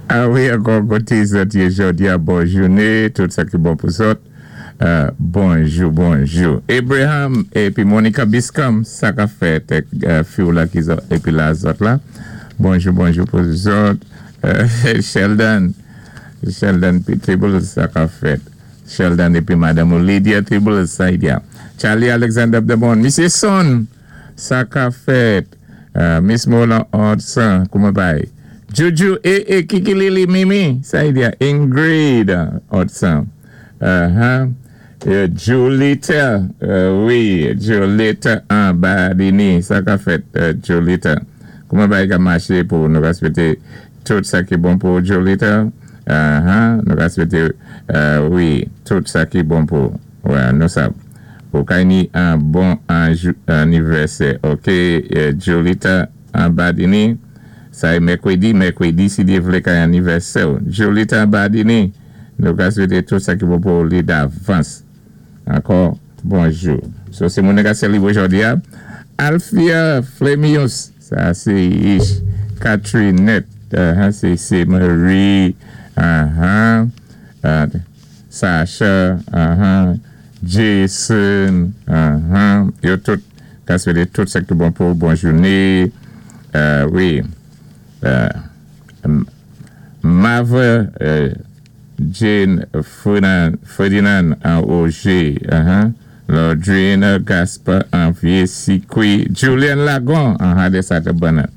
A wi, ankò, koté zòt yé jòdi-a, bon jouné, tout sa ki bon pou zòt. Bonjou, bonjou. Abraham épi Monica Biscom, sa ka fèt, fi la ki épi la zòt la. Bonjou, bonjou pou zòt. Sheldon, Sheldon Peebles, sa ka fèt. Sheldon épi Madanm Lydia Peebles, sa y Charlie Alexander Demon, Misyé Son, sa ka fèt. Miss Mona Hudson, kouman bay? Juju, eh, eh, Kiki Lili Mimi, sa y Ingrid Hudson. Julita, wi, Julita an Badini, sa ka fèt, Julita. Kouman bay ka maché pou nou réspékté tout sa ki bon pou Julita? Nou réspékté, wi, tout sa ki bon pou, wè, nou sa. Ou kay ni an bon anivèsè, ok, Julita an Badini, sa é mèkwédi, mèkwédi, si Dye vlé kay anivèsè. Julita an Badini, nou ka swété tout sa ki bon pou li davans. Ankò, bonjou. So, sé moun ka sélébwé jòdi a. Alfia Flemius, sa sé Ish. Catrinette, sé Marie, Sacha, Jason, yo tout, ka swété tout sa ki bon pou bon jouné. Wi. Mava Jane Ferdinand an Roger, Lordrina Gaspar an Vieux-Sikwi, Julian Lagon an Hadesata Bernard.